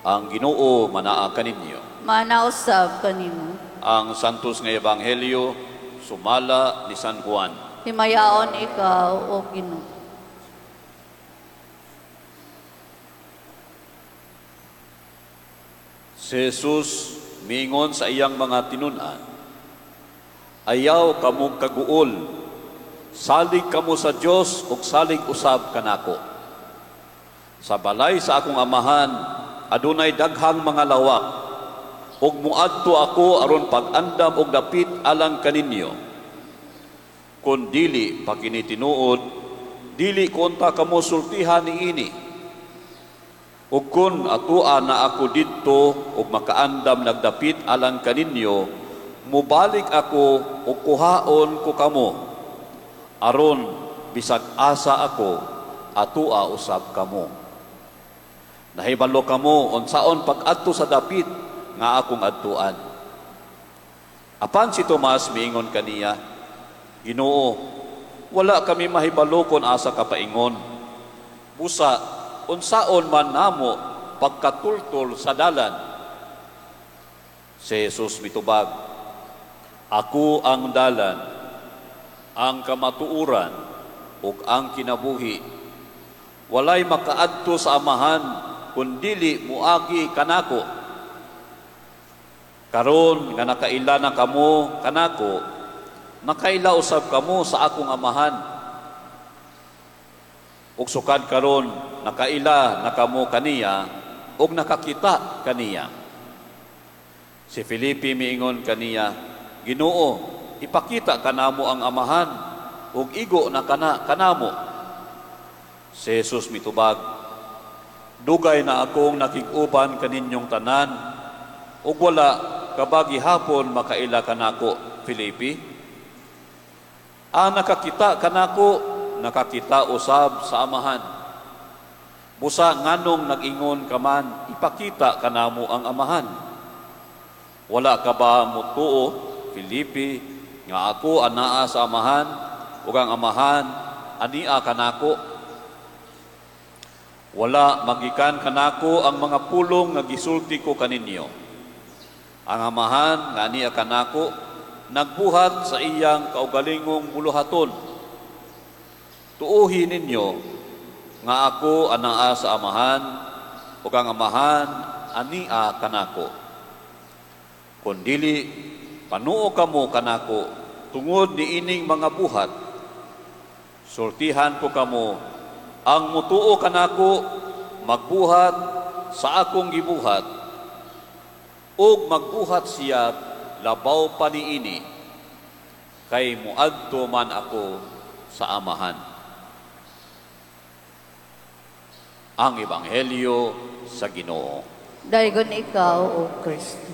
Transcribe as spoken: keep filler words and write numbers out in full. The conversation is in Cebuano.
Ang Ginoo manaa kaninyo. Manaa usab kanimo. Ang Santos nga Ebanghelyo sumala ni San Juan. Himayaon ikaw, O Ginoo. Si Jesus miingon sa iyang mga tinun-an, "Ayaw kamo kaguol, salig kamo sa Dios ug salig usab kanako. Sa balay sa akong amahan adunay daghang mga lawak, ug moadto ako aron pag-andam og dapit alang kaninyo. Kun dili pa kini tinuod, dili ko unta kamo sultihan niini. Ug kun atua na ako didto ug makaandam nagdapit alang kaninyo, mobalik ako ug kuhaon ko kamo, aron bisag asa ako, atua usab kamo. Nahibalo kamo unsaon pag-adto sa dapit nga akong adtuan." Apan si Tomas miingon kaniya, "Ginoo, wala kami mahibalo kon asa ka paingon. Busa unsaon man namo pagkatultol sa dalan?" Si Jesus mitubag, "Ako ang dalan, ang kamatuoran, ug ang kinabuhi. Walay makaadto sa Amahan kun dili moagi kanako. Karon nga nakaila na kamo kanako, nakaila usab kamo sa akong Amahan. Ug sukad karon nakaila na kamo kaniya ug nakakita kaniya." Si Felipe miingon kaniya, "Ginoo, ipakita kanamo ang Amahan ug igo na kana kanamo." Si Jesus mitubag, "Dugay na akong nakig-uban kaninyong tanan ug wala ka ba gihapon makaila kanako, Felipe? Ang nakakita kanako, nakakita usab sa Amahan. Busa nganong nag-ingon ka man, 'Ipakita kanamo ang Amahan'? Wala ka ba motuo, Felipe, nga ako anaa sa Amahan ug ang Amahan ania kanako? Wala magikan kanako ang mga pulong nga gisulti ko kaninyo. Ang Amahan nga ania kanako nagbuhat sa iyang kaugalingong buluhaton. Tuohi ninyo nga ako anaa sa Amahan ug ang Amahan ania kanako. Kun dili, panuo kamo kanako tungod niining mga buhat. Sultihan ko kamo, ang mutuo kanako magbuhat sa akong gibuhat, ug magbuhat siya labaw pa niini, kay muadto man ako sa Amahan. Ang Ebanghelyo sa Ginoo. Daygon ikaw, O Kristo.